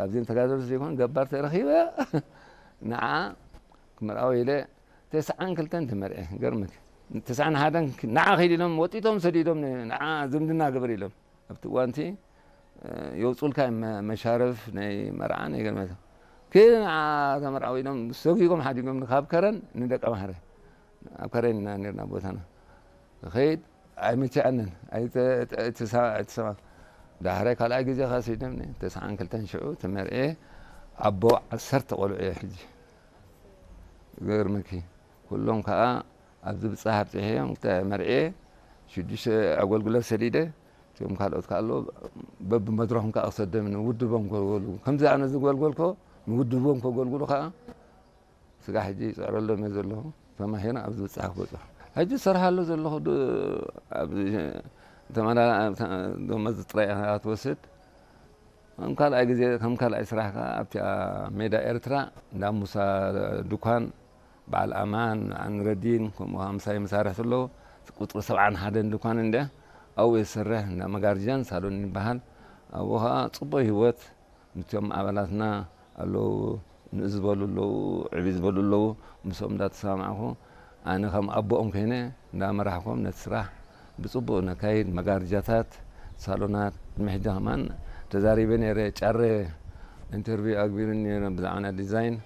ካብዚኦም ተጋደልቲ ዘይኮን ገባር ተረኺበ ንዓ ክምርኣው ኢለ ተስዓን ክልተን ተመርኤ። ገርምክ ተስዓን ሓደን ንዓ ከይድ ኢሎም ወጢቶም ሰዲዶም ንዓ ዝምድና ግበር ኢሎም ኣብቲ እዋንቲ የውፁልካ መሻርፍ ናይ መርዓ ናይ ገርመት ክል ንዓ ተመርዓው ኢሎም ሰጊጎም ሓዲጎም ካብ ከረን ንደቀ ማሕረ ኣብ ከረን ኢና ነርና ቦታና ኸይድ ኣይመቸኣንን ኣይተሰማ ዳሕራይ ካልኣይ ግዜ ከሲድም ተስዓን ክልተን ሽዑ ተመርኤ ኣቦ ዓሰርተ ቆልዑ እየ ሕጂ ገርምኪ ኩሎም ከዓ ኣብዚ ብፃህ ኣብፅሐዮም መርኤ ሽዱሽተ ኣገልግሎት ሰዲደ እቶም ካልኦት ከዓ ኣሎ በብመድረኹም ከዓ ክሰደም ንውድቦም ከገልግሉ ከምዚ ኣነ ዝገልገልኮ ንውድቦም ከገልግሉ ከዓ ስጋ ሕጂ ይፅዕረሎም እየ ዘለኹ ተማሂረ ኣብዚ ብፃህ ክበፅሑ ሕጂ ዝሰርሓሉ ዘለኹ ደመዝ ጥራይ ትወስድ ከም ካልኣይ ግዜ ከም ካልኣይ ስራሕ ከዓ ኣብቲ ሜዳ ኤርትራ እንዳ ሙሳ ድኳን በዓል ኣማን ንረዲን ከምኡ ምሳይ መሳርሕቲ ኣለዉ ቁፅሪ ሰብዓን ሓደን ድኳን እንደ ኣብኡ የሰርሕ እንዳ መጋርጃን ሳሎን ይበሃል ኣብኡ ከዓ ፅቡቅ ህይወት ምስቶም ኣባላትና ኣለዉ ንእስ ዝበሉ ኣለዉ ዕቢ ዝበሉ ኣለዉ ምስኦም እንዳተሰማማዕኩ ኣነ ከም ኣቦኦም ኮይነ እንዳመራሕኮም ነቲ ስራሕ ብፅቡቅ ነካይድ መጋርጃታት ሳሎናት ቅድሚ ሕጂ ከማን ተዛሪበ ነይረ ጫረ ኢንተርቪው ኣግቢሩኒ ነይረ ብዛዕባ ናይ ዲዛይን